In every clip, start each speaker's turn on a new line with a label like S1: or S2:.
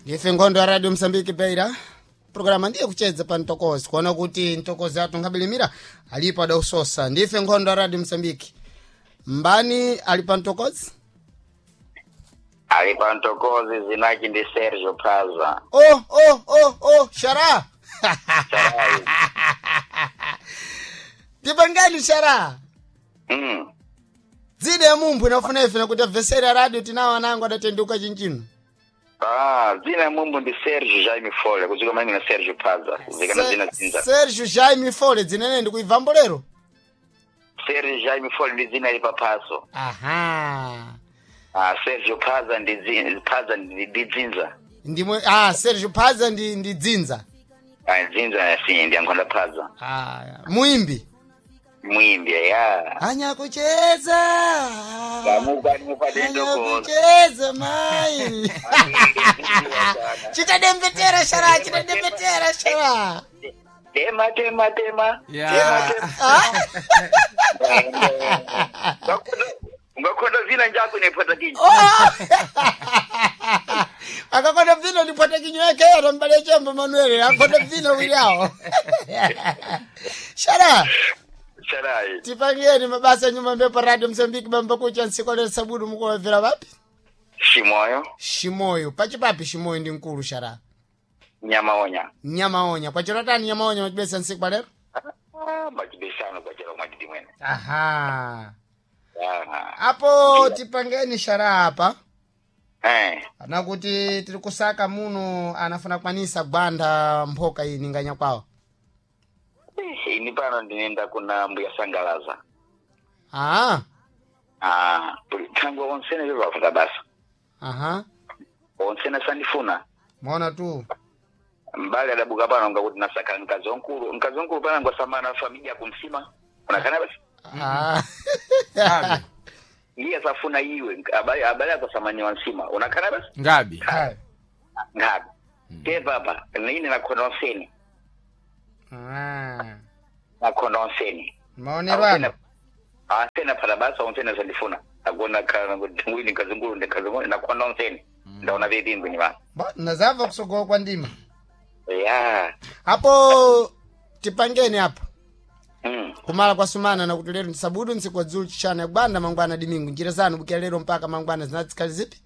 S1: Ndife nkhondo ya Radio Msambiki Beira. Programa ndiye kuchedza pa mtokozi kuona kuti mtokozi athu nkabilimira alipo adausosa. Ndife nkhondo ya Radio Msambiki. Mbani ali pa mtokozi?
S2: Ali pantokozi zinaki ndi Sergio Plaza.
S1: Oh, oh, oh, oh, shara.
S2: Sharai.
S1: Tipangani shara. Dzina ya mumphu inafuna ife nakuti abveseri a radio tinawo anango adatenduka chinchino.
S2: Ah, zina ya mumbu ndi Sergio Jaime Fole, kuzika mangi na Sergio Plaza. Zikana zina zinza.
S1: Sergio Jaime Fole dzinene ndikuibvambo lero.
S2: Sergio Jaime Fole ndi zina ili papaso.
S1: Aha.
S2: Ah, Sergio Plaza ndi zina, Plaza ndi dzinza.
S1: Ndimwe Sergio Plaza ndi dzinza.
S2: Ah, dzinza si ndi ankhonda Plaza.
S1: Ah, muimbi.
S2: Mwimbi ya.
S1: Anyakucheza.
S2: Kamuka nimupate ndokoza.
S1: Anyakucheza mai. Chitadembetera shara, chitadembetera shara.
S2: Tema tema tema.
S3: Ya.
S2: Tema tema. Ungakhonda zina njako inepata kinyi.
S1: Oh! Akakonda vino ndipwata kinywa yake atambale chombo Manuel akonda vino wili awo. Shara,
S2: Sharai.
S1: tipangeni mabasa nyuma mbepo Radio Msambiki bamba kucha nsiku lero sabudu mukuwabvera vapi?
S2: Shimoyo,
S1: Shimoyo, pachipapi Shimoyo ndi mkulu shara.
S2: Nyamaonya.
S1: Nyamaonya, kwachirotani Nyamaonya machibesa nsiku palero?
S2: Ah, machibesano kwachera mwatiti mwene.
S1: Aha.
S2: Ah.
S1: Apo tipangeni shara apa.
S2: Eh.
S1: Anakuti tiri kusaka muno anafuna kwanisa gwanda mphoka iyi ninganya kwawo.
S2: Ini pano ndinenda kuna mbuya sangalaza.
S1: Ah,
S2: Ah, tangu onsene vivafata basa.
S1: aha.
S2: Onsene sandifuna.
S1: Maona tu.
S2: Mbali adabuka pano ngakuti nasaka mkazi wankulu. Mkazi wankulu pano ngwasamana familia kumsima. Unakana basi.
S1: Ah.
S3: Ngabi.
S2: Iye asafuna iwe abali abali akasamanya wansima. Unakana basi.
S3: Ngabi.
S1: Hai.
S2: Ngabi. Te papa, nini nakhona onsene.
S1: Ah.
S2: Nakhona onsene.
S1: Maonero ano.
S2: Asena phala basa onsene sandifuna. Akona kana kuti ngwini kazungulu ndikazungulu nakhona onsene. Ndaona vipimbi ni bana.
S1: Ba, nazava kusogowa kwa ndima.
S2: Ya.
S1: Apo tipangeni apa.
S2: Mm.
S1: Kumala kwa sumana na kuti lero ndisabudu nsiku dzulu chishana ya gwanda mangwana dimingu njira zanu bukira lero mpaka mangwana zinatsikali zipi?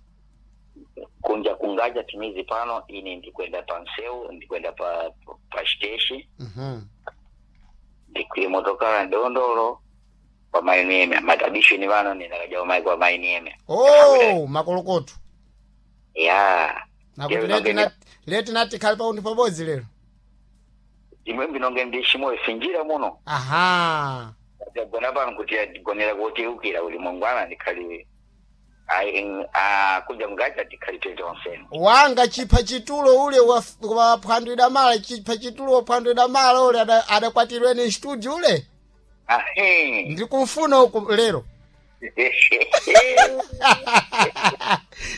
S2: Kunja kungaja timizi pano ini ndikwenda pa nseu ndikwenda pa siteshi
S1: Mhm.
S2: ndikwiye motokala ndondolo kwa mainieme matabisho ni vano ninakaja mai kwa mainieme
S1: Oh, makolokoto.
S2: ya
S1: Nakuti leti nati leti nati khali paundi pabodzi lero.
S2: imwe mbinonge ndishimoyo sinjira muno
S1: Aha.
S2: tagona pano kuti gonera koteukira kuti mangwana ndikhali kunja kungaja tikhali tete onsene
S1: Wanga chipha chitulo ule wa phwandwida mala chipha chitulo wa phwandwida mala ule adakwatirwe ni studio ule.
S2: ahe
S1: Ndikumfuna uku lero.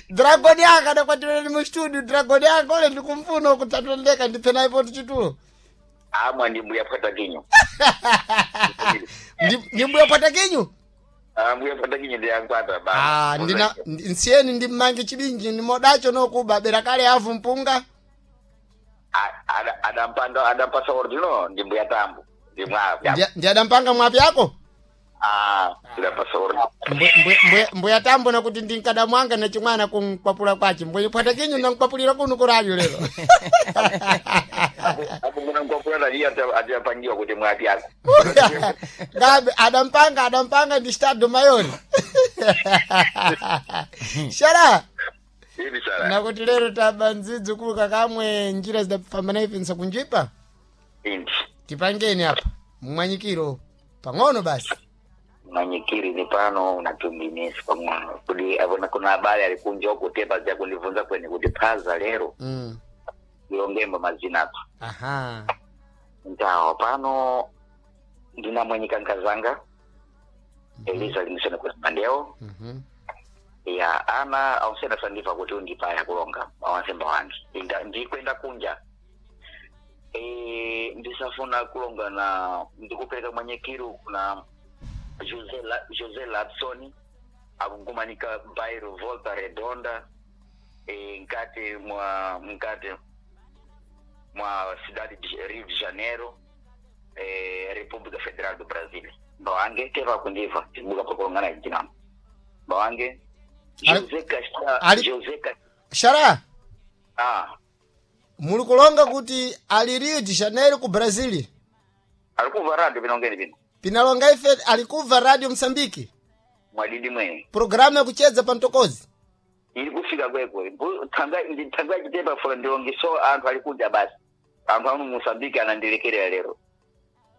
S1: Dragon yanga adakwatirwe ni mu studio dragon yanga ule ndikumfuna uku tatondeka ndiphe naye chitulo.
S2: amwa ndi mbuya phata kinyo
S1: Ndi mbuya phata kinyu?
S2: Ah, mbuya phata kinyo ndiyankwata ba
S1: Ah, ndina nsiyeni ndi mmange chibinji ndimodacho nokuba bera kale avu mpunga.
S2: Adampanda adampasa ordino ndi mbuya tambo ndi mwa
S1: Ndi adampanga mwapi yako?
S2: ah adampasa ordino
S1: Mbuya tambo nakuti ndinkadamwanga na chimwana kunkwapula kwache. Mbuya phata kinyu nankwapulira kuno kuradio lero.
S2: apo kuna nkwapula iye atiapangiwa kuti mwapi ako
S1: Gabe adampanga ndi stado mayori. Shara
S2: hivi sara
S1: nakuti lero taba ndzidzi kuluka kamwe njira zidapambana ife nsakunjipa.
S2: indi
S1: Tipangeni apa mwanyikiro pang'ono basi.
S2: manyikiri ni pano unatumbinisi pang'ono kuti apona kuna habari alikunja huko tepa za kundivunza kweni kuti phaza lero ilongemba mazina apa
S1: Aha.
S2: ntawa pano ndinamwenyika nkazanga Elisa limisene kwa mandeo ya ana awusena sandiva kuti undipaya kulonga awansemba wange Inda- ndikwenda kunja e, ndisafuna kulonga na ndikupereka mwanyekiru kuna Jose Jose Lapsoni akungumanika bairro Volta Redonda. Mkati mwa cidade de Rio de Janeiro, República Federal do Brasil. Mbawange teva kundiva tibuka pakulongana jinamo mbawange José Castro. José Castro.
S1: Xará.
S2: Ah.
S1: Muli kulonga kuti ali Rio de Janeiro ku Brazil.
S2: Alikuva radio pinongeni pino.
S1: Pinalonga ife alikuva Radio Msambiki.
S2: Mwadidi mwe.
S1: Programu ya kucheza pa mtokozi.
S2: Ili kufika kwekwe. Tanga nditanga chitepa fula ndilongi so anthu alikuja basi. Anthu anu Mosambiki anandilekerera lero.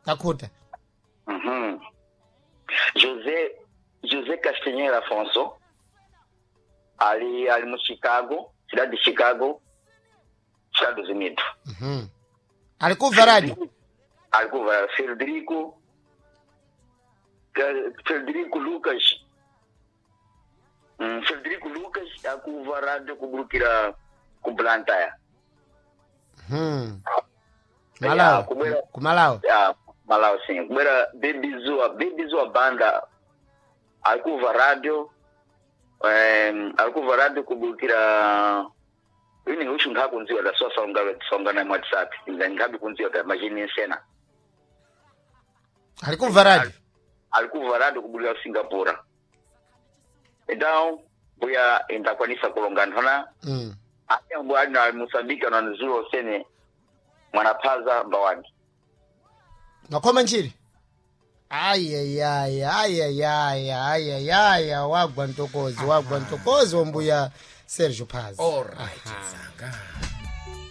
S1: Takuta.
S2: José Castanheira Afonso ali mu Chicago, cidade de Chicago, Estados Unidos.
S1: Alikuva radio.
S2: Alikuva Frederico Lucas. Frederico Lucas akuva radio kuburukira ku Blantyre.
S1: Malawi. Ku Malawi.
S2: Ya, Malawi sim. Kubera Baby Zua Banda alikuva radio, alikuva radio kuburukira ini ushu nkhakunziwa da so songa na WhatsApp nkhabi kunziwa da majini sena.
S1: Alikuva radio.
S2: Alikuva radio kuburukira Singapore. Então mbuya indakwanisa kulonga nthona. Ate mbuya ali na Mozambique ananzulo sene mwanaphaza mbawangi.
S1: Makhoma nchiri. Ayayaya, ayayaya, ayayaya, wagwa ntokozi, wagwa ntokozi wambuya Sergio Paz.
S3: Alright, Tsanga.